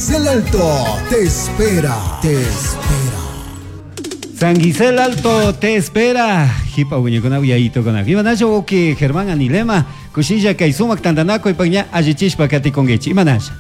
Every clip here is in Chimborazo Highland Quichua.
Giselle Alto te espera, te espera. San Giselle Alto te espera. Hipa wiñakuna uyayitokuna. Imanasha wawqi Germán Anilema kushilla kay sumak tantanakuy ña allichishpa katikunkichik. Imanasha.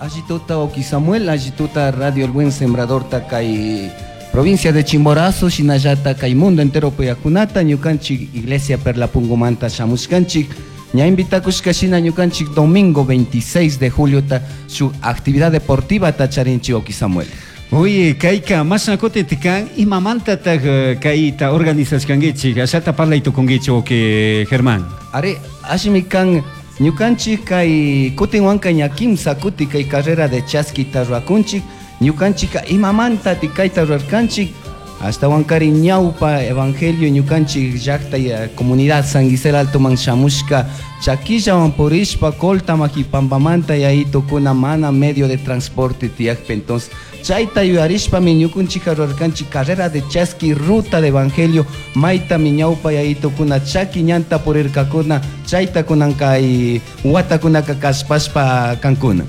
Allituta wawqi Samuel, allituta Radio El Buen Sembrador kay provincia de Chimborazo, shinallata kay mundo entero puyakunata, ñukanchik Iglesia Perla Pungumanta shamushkanchik. Ña invitakushka shina ñukanchik domingo 26 de julio ta shuk actividad deportiva ta charinchik wawqi Samuel. Oye, kayka mashna kutin kan imamantataq kayta organizashkankichik ashata parlay tukunkichik wawqi Germán. Ari, allimi kan ñukanchik kay kutinwanka ña kimsa kuti kay carrera de chaskita rurakunchik, ñukanchika imamanta kayta rurarkanchik, ashtawankari ñawpa evangelio ñukanchik llakta comunidad San Giselle Altoman shamushka chakillawan purishpa Colta Majipambamanta yayitukuna mana medio de transporte tiyakpi. Entonces chayta yuyarishpami ñukunchika rurarkanchik carrera de chaski ruta de evangelio maytami ñawpa yayitukuna chaki ñanta purirkakuna chayta kunan kay watakunaka kallpashpa kankuna.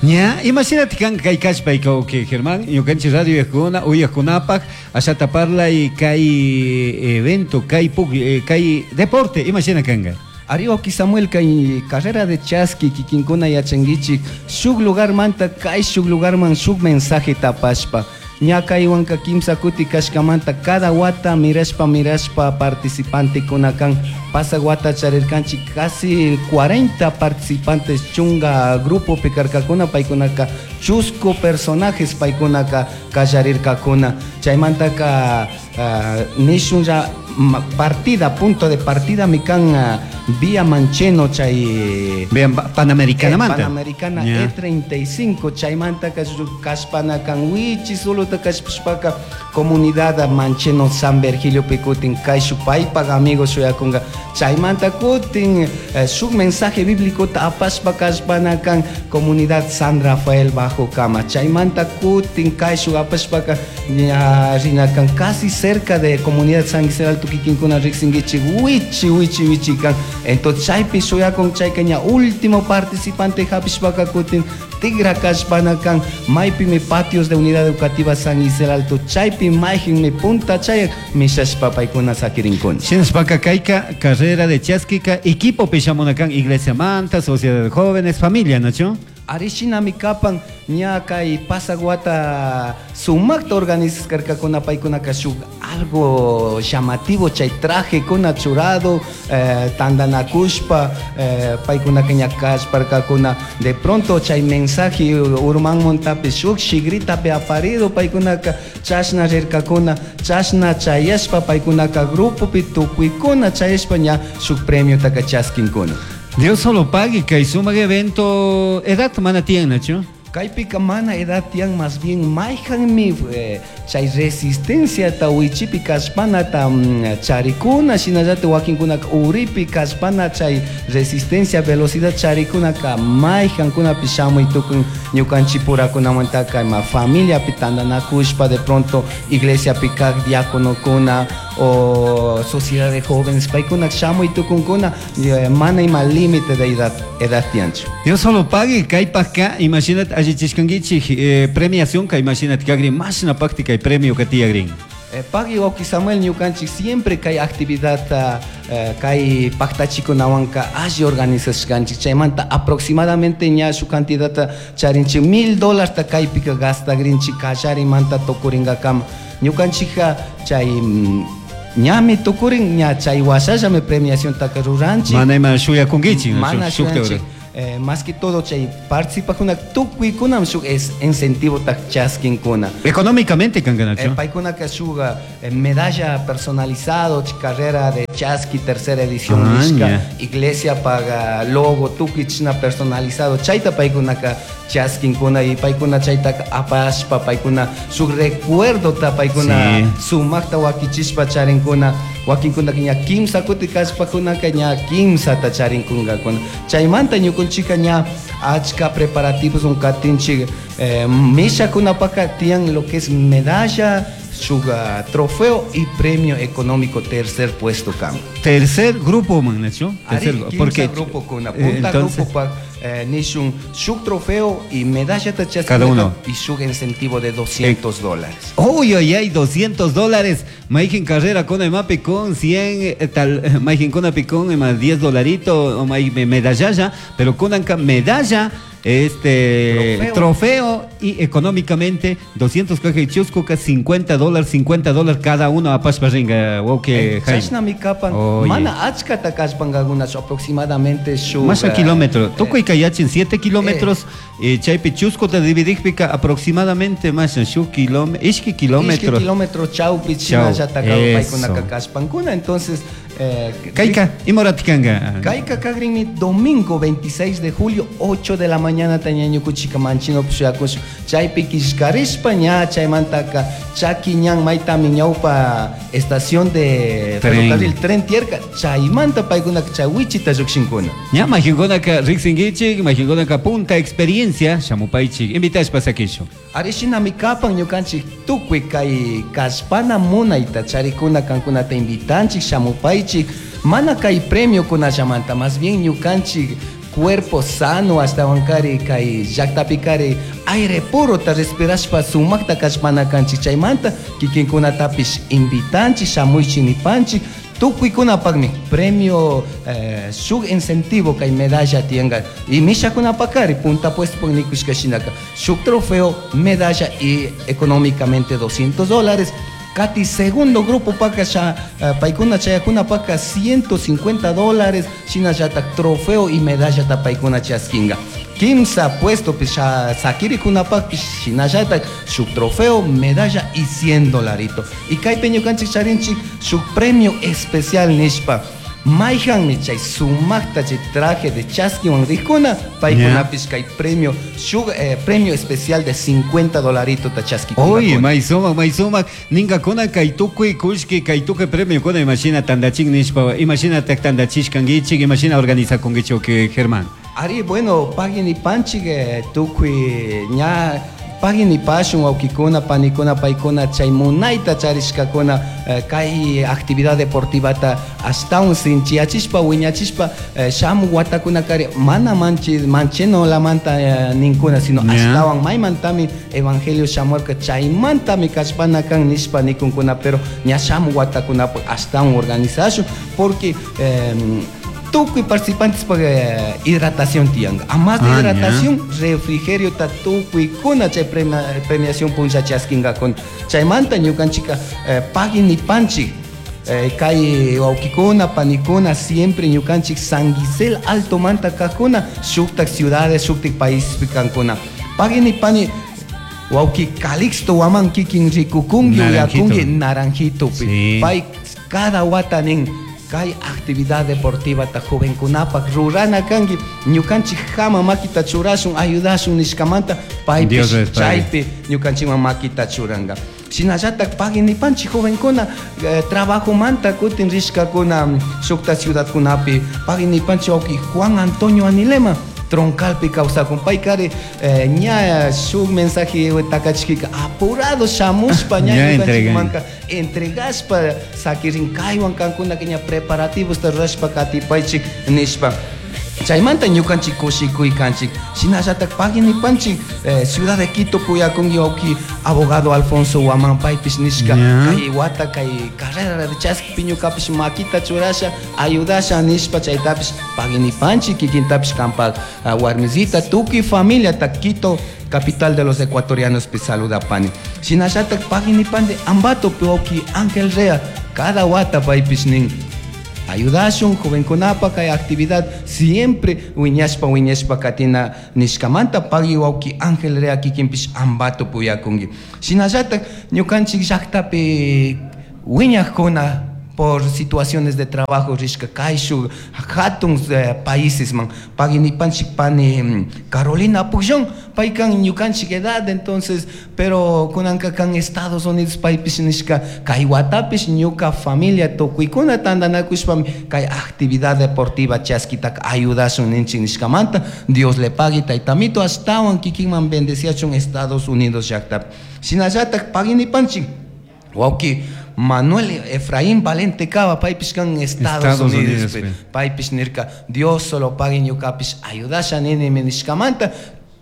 Ña, imashinati kan kay kallpayka wawqi Germán, ñukanchik radio uyakuna uyakkunapaq ashata parlay kay evento, kay kay deporte, imashina kanka. Ari wawqi Samuel kay carrera de chaski kikinkuna yachankichik shuk lugarmanta kay shuk lugarman shuk mensaje tapashpa. Ña kaywanka kimsa kuti kashkamanta cada wata mirashpa mirashpa participantekuna kan. Pasaq wata charirkanchik casi 40 participantes chunga grupopi karkakuna paykunaka chusku personajes paykunaka kallarirkakuna. Chaymantaka nishunlla partida, punto de partida mi kan vía Mancheno chay Vía Panamericana manta. Panamericana E35 chaymantaka kashpana kan wichi suluta kashpashpaka comunidad Mancheno San Virgilio pikutin kay shuk paypak amigo shuyakunka chaymanta kutin shuk mensaje bíblico apashpa kashpana kan comunidad San Rafael Bajo Kama chaymanta kutin kay shuk apashpaka ña rina kan casi cerca de comunidad San Giselle Alto kikinkuna riksinkichik wichi wichi wichi kan. Entonces chaypi shuyakun chayka ña último participante hapishpaka kutin tigra kashpana kan maypimi patios de unidad educativa San Giselle Alto chaypi mayjinmi punta chayak mishashpa paykuna sakirinkuna. Shinashpaka kayka carrera de chaskika equipo shamuna kan iglesia manta, sociedad de jóvenes, familia, ¿no? Ari shinami kapan ña kay pasaq wata sumakta organizarkakuna paykunaka shuk algo llamativo chay trajekuna churado tantanakushpa paykunaka ña kallparkakuna de pronto chay mensaje urmanmuntapi shuk shigritapi aparido paykunaka chashna rirkakuna chashna chayashpa paykunaka grupopi tukuykuna chayashpa ña shuk premiotaka chaskinkuna. Dios solo pague kay sumak evento edad mana tiyan, Nacho. Kaypika mana edad tiyan, más bien mayjanmi chay resistencia ta wichipi kashpanata charikuna, shinallata wakinkunaka uripi kashpana chay resistencia velocidad charikunaka mayjankunapi shamuy tukun ñukanchipurakunamantaka ima familiapi tantanakushpa de pronto iglesiapi kak diaconokuna o sociedad de jóvenes paykuna shamuy tukunkuna mana ima límite de edad tiyanchu. Dios solo pague kaypajka imagínate allichishkankichik premiación ka imagínate kagrin mashna pakti kay premio ka tiyagrin. Pagui wawqi Samuel ñukanchik siempre kay actividad kay paktachikunawanka alli organizashkanchik chaymanta aproximadamente ña shuk cantidadta charinchik $1000 ta kaypika gastagrinchik kallarimanta tukuringakama ñukanchikka chay ñami tukurin ña chay washallami premiaciontaka ruranchik. Mana ima shuyakunkichik, Mana shuyanchik. Más que todo chay participajuna tukuykunam shuk es incentivo tak chaskinkuna. Económicamente kankanachu. Paykunaka shuk medalla personalizado carrera de chaski tercera edición nishka iglesia paga logo tukuy china personalizado chayta paykunaka chaskinkuna y paykuna chayta apashpa paykuna shuk recuerdo ta paykuna sumakta wakichishpa charinkuna wakinkunaka ña kimsa kuti kashpakunaka ña kimsata charinkunkakuna chaymanta ñukunchika ña achka preparativos un katinchik mishakunapaka tiyan lo que es medalla shuk trofeo y premio económico tercer puesto kam. Tercer grupo, man, ¿no? Tercer Ari, porque kimsa grupo kuna, punta entonces grupo pa Nishun shuk trofeo y medallata Cada uno. Y shuk incentivo de $200. Uy, ay, ay, $200. Maijen carrera con emapi con 100, tal, maijen con api con ema 10 dolarito, o mai, me, medalla ya, pero con anca medalla, Trofeo. trofeo y económicamente 200 caja y chusco, casi $50, $50 cada uno a Pashpa Ringa, wow, que Jaime. Chashna mi kapan, Oye. mana achkata kashpangakunachu aproximadamente shuk, Más a kilómetro. Tukuy kayachin 7 kilómetros, chaypi chusco te dividijpica aproximadamente más shuk kilómetro, ishki kilómetro. Ishki kilómetro chaupi, Chau, shinallata kawpaykunaka eso. kashpankuna, entonces, Kaika, imoratikanga. Kaika kagrini domingo 26 de julio, 8 de la mañana, tañañukuchika manchino pshuyakush, chaypi kishkarishpa ña, chaymantaka, chaki ñan maitami ñaupa estación de Tren. ferrocarril tren tierka, chaymanta paykunaka chaywichita llukshinkuna. Ña, majinkunaka riksinkichik, majinkunaka punta experiencia, shamupaychik, invitashpa sakishu. Arishinami kapan ñukanchik tukuy kay kashpana munayta charikuna kankunata invitanchik, shamupaychik, mana kay premio kunallamanta, más bien ñukanchik cuerpo sano hasta wankari kay llaqtapikari aire puro ta respirashpa sumakta kashpana kanchik, chaymanta kikinkunatapish invitanchik, shamuychik nipanchik, tukuykunapakmi premio, shuk incentivo kay medalla tienga y mishakunapakari punta puesto nikushka shinaka shuk trofeo, medalla y económicamente $200. Kati segundo grupo paka sha, paykuna chayakuna paka $150, shinallata trofeo y medalla ta paykuna chaskinga. Kimsa puesto pisha sakiri kunapakpish shinallata shuk trofeo, medalla y cien dolarito. Y kay peñukanchik charinchik shuk premio especial nishpa. Mayhanmi chay sumakta chay traje de chasquiwan rijkuna, paykunapish kay premio, shuk, premio especial de cincuenta dolarito ta chasquikuna. Oye, may sumak, may sumak, ninkakuna kay tukuy kullki, kay tukuy premio kuna imashina tandachin nishpa, imashina tak tandachishkankichik, imashina organizakunkichik, que Germán. Ari, bueno, pagin y panchik, tukuy ña, pagin y pashun, wawkikuna, panikuna, paykuna, chay munayta charishkakuna, kay actividad deportiva ta ashtawan sinchiyachishpa, wiñachishpa, shamu watakuna kari, mana mancheno lamanta ninkuna, sino ashtawan maymantami evangelio shamurka, chaymantami kashpana kan nishpa nikunkuna, pero ña shamu watakunapaq ashtawan organizashun, porque tukuy participantes pa hidratación tianga. A más de hidratación, refrigerio ta tukuy kuna chay premiación puncha chaskinga con chaymanta ñukanchika pagin ni panchik kay wawkikuna, panikuna, siempre ñukanchik San Gisel Alto Manta kakuna, shuktak ciudades, shuktak países kankuna. Pagin ni pani wawki Calixto Waman kikin rikukungi, Naranjito. uyakungi, naranjito pi. Pay cada wata nin kay actividad deportiva ta jovenkunapak rurana kanki, ñukanchik jama makita churashun, ayudashun nishkamanta, paypish Dios les pague. chaypi ñukanchikman makita churanka. Shinallatak pagui nipanchik jovenkuna trabajo manta kutin rishkakuna shukta ciudadkunapi, pagui nipanchik wawki Juan Antonio Anilema, Troncalpi kawsakun, paykari ña shuk mensaje takachikika apurado shamushpa ña Ña ñukanchik entregan. manka entregashpa sakirin kaywan kankuna ña preparativos rurashpa katipaychik nishpa. Chaymanta ñukanchik kushikuykanchik. Shinallatak pagui nipanchik Ciudad de Quito puyakunki wawki abogado Alfonso Guamán paypish nishka. Kay wata kay carrera de chasquipi ñukapish makita churasha ayudasha nishpa chaytapish pagui nipanchik kikintapish kampak warmisita tukuy familia ta Quito capital de los ecuatorianos pi saludapani. Shinallatak pagui nipandi Ambato pi wawki Ángel Rea cada wata paypish nin. Ayudashun jovenkunapa kay actividad siempre wiñashpa wiñashpa katina nishkamanta pagui wawki Ángel Rea kikinpish Ambato puyakunki. Shinallatak ñukanchik llaqtapi wiñajkuna por situaciones de trabajo rishka kayshu hatun países man pagui nipanchik pani Carolina Pujón paykan ñukanchik edad entonces pero kunanka kan Estados Unidos paypish nishka kay watapish ñuka familia tukuykuna tantanakushpami kay actividad deportiva chaskitaka ayudashun ninchik nishkamanta Dios le pague taytamito ashtawan kikinman bendeciachun Estados Unidos llaqtapi. Shinallatak pagui nipanchik wawki Manuel Efraín Valente Cava paypish kan Estados Unidos paypish nirka Dios solo pague ñukapish ayudasha ninimi nishkamanta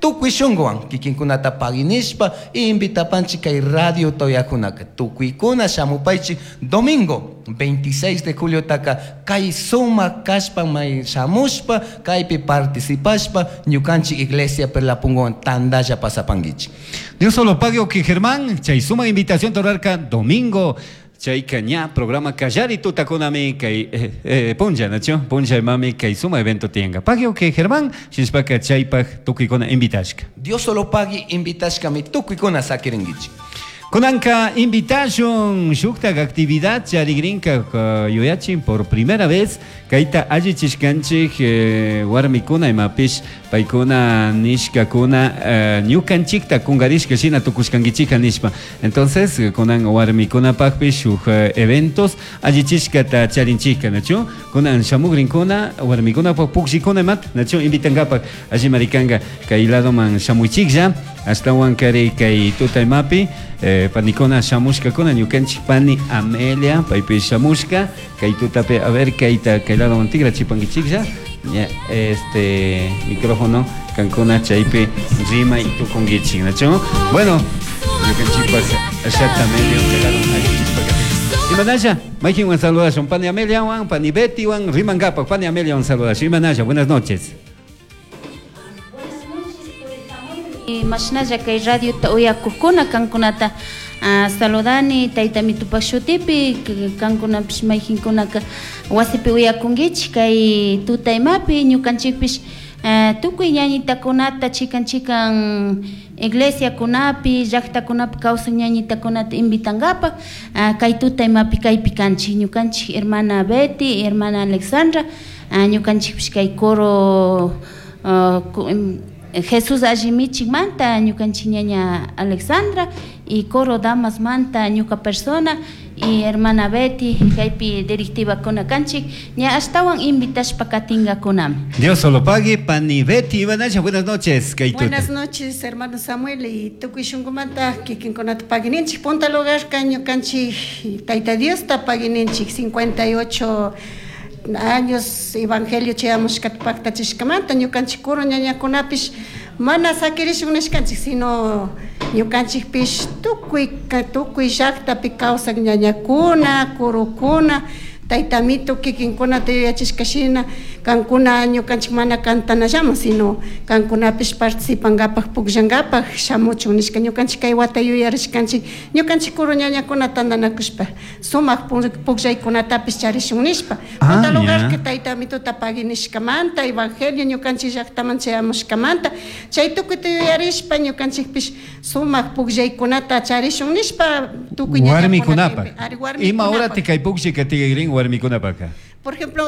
tukuy shunkuwan kikinkunata paginishpa invitapanchik kay radio toyakunaka tukuykuna shamupaychik domingo 26 de julio taka kay sumak kashpa may shamushpa kaypi participashpa ñukanchik iglesia perlapunguwan tandalla pasapankichik. Dios solo pague que Germán, chay suma invitación torarka domingo chayka ña programa kallari tutakunami kay punlla nacho punlla mami kay suma evento tianga. Pague que Germán, shishpaka chaypaj tukuykuna invitashka. Dios solo pague invitashkami tukuykuna sakirinkichik. Kunanka invitación shuktak actividad charigrinka yuyachin por primera vez kayta allichishkanchik warmikuna imapish paykuna nishkakuna ñukanchikta kungarishka shina tukushkankichika nishpa. Entonces kunan warmikunapakpish shuk eventos allichishkata charinchikka nachu kunan shamugrinkuna warmikunapak pukllikuna imat nachu invitankapak allimarikanga kay ladoman shamuychiklla ashtawan kari kay tuta imapi panikuna shamushkakuna ñukanchik pani Amelia paypi shamushka kay tutapi a ver kayta kay ladoman tikrachipankichiklla ña este micrófono kankuna chaypi rimay tukunkichik nachu bueno ñukanchikpak exactamente kay ladoman allichishpaka Imanasha, maykinwan saludashun pani Ameliawan, pani Bettywan rimankapak pani Ameliawan saludashun. Imanasha, buenas noches. Mashnalla kay radio ta uyakukuna kankunata saludani tayta mitupak shutipi kankunapish maykinkunaka wasipi uyakunkichik kay tuta imapi ñukanchikpish tukuy ñañitakunata chikan chikan iglesiakunapi llaqtakunapi kawsak ñañitakunata invitankapak kay tuta imapi kaypi kanchik ñukanchik hermana Betty, hermana Alexandra ñukanchikpish kay coro Jesús allimichikmanta ñukanchik ñaña Alexandra y coro damas manta ñuka persona y hermana Betty kaypi directivakuna kanchik ña ashtawan invitashpa katinkakunami. Dios solo pague pani Betty. Ivanasha, buenas noches. Buenas noches, hermano Samuel y tukuy shunkumanta kikinkunata paguininchik punta lugar ka ñukanchik Tayta Diosta paguininchik 58 años evangelio chayamushkata paktachishkamanta ñukanchik kuru ñañakunapish mana sakirishun nishkanchik sino ñukanchikpish tukuy tukuy llaqtapi kawsak ñañakuna kurukuna tayta mito kikinkunata yuyachishka shina kankuna ñukanchik mana kantanallaman sino kankunapish participankapak pukllankapak shamuchun nishka ñukanchik kay wata yuyarishkanchik ñukanchik kuru ñañakuna tantanakushpa sumak pukllaykunatapish charishun nishpa. Punta lugar que tayta mituta pagui nishkamanta evangelio ñukanchik llaqtaman chayamushkamanta chay tukuyta yuyarishpa ñukanchikpish sumak pukllaykunata charishun nishpa tukuy warmikunapak. Ima hora kay pukllika tigrin warmikunapaka? Por ejemplo,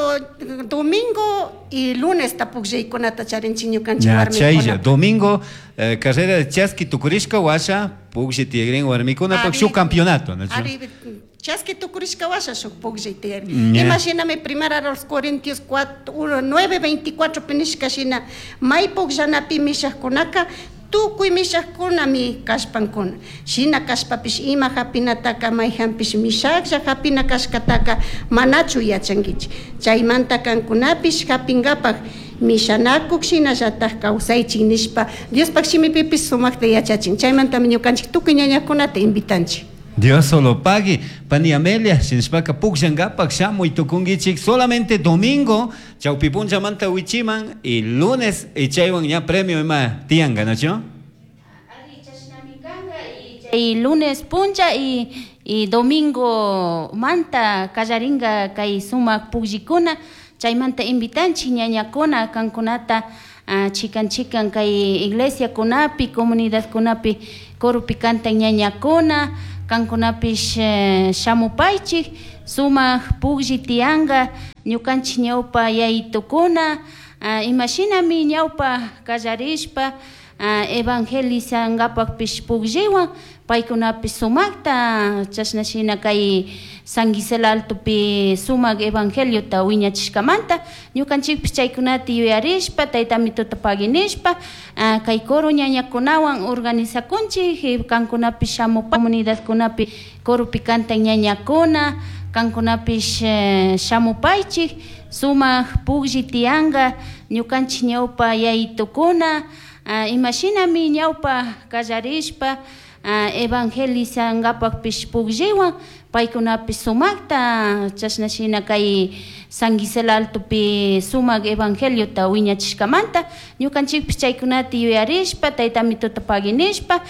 domingo y lunes tapukllaykunata charinchik ñukanchik warmikunapaq. Domingo carrera de chaski tukurishka washa puklli tigrin warmikunapak shuk campeonato, ¿no? Chaski tukurishka washa shuk pukllay tiyarin. Imashinami primera los Corintios 9:24 pinishka shina may pukllanapi mishaqkunaka tukuy mishaqkunami kashpankuna shina kashpapish ima hapinataka mayhanpish mishaqlla hapina kashkataka manachu yachankichik chaymanta kankunapish hapinkapak mishanakuk shinallatak kawsaychik nishpa Diospak shimipipis sumakta yachachin chaymantami ñukanchik tukuy ñañakunata invitanchik. Dios solo pague. Pani Amelia, shinshpaka pukllankapak shamuy tukunkichik solamente domingo chawpipunchamanta wichiman y lunes y chaywan ña premio ima tiyanka, ¿no? Y lunes puncha y domingo manta kallarinka kay sumak pukllikuna chaymanta invitanchik ñañakuna kankunata chikan chikan kay iglesiakunapi comunidadkunapi corupi kantan ñañakuna kankunapish shamupaychik sumak puklli tiyanka ñukanchik ñawpa yayitukuna imashinami ñawpa kallarishpa Evangelizangapakpish pukllaywan paykunapish sumakta chashna shina kay San Gisela Altopi sumak evangeliota wiñachishkamanta ñukanchikpish chaykunata yuyarishpa tayta Amituta paginishpa kay coro ñañakunawan organizakunchik. Kankunapish shamupa comunidadkunapi coropi cantan ñañakuna, kankunapish shamupaychik, sumak puklli tiyanka. Ñukanchik ñawpa yayitukuna imashinami ñawpa kallarishpa evangelizangapakpish pukllaywan paykunapish sumakta chashna shina kay San Gisela Altopi sumak evangeliota wiñachishkamanta ñukanchikpish chaykunata yuyarishpa tayta Amituta paginishpa.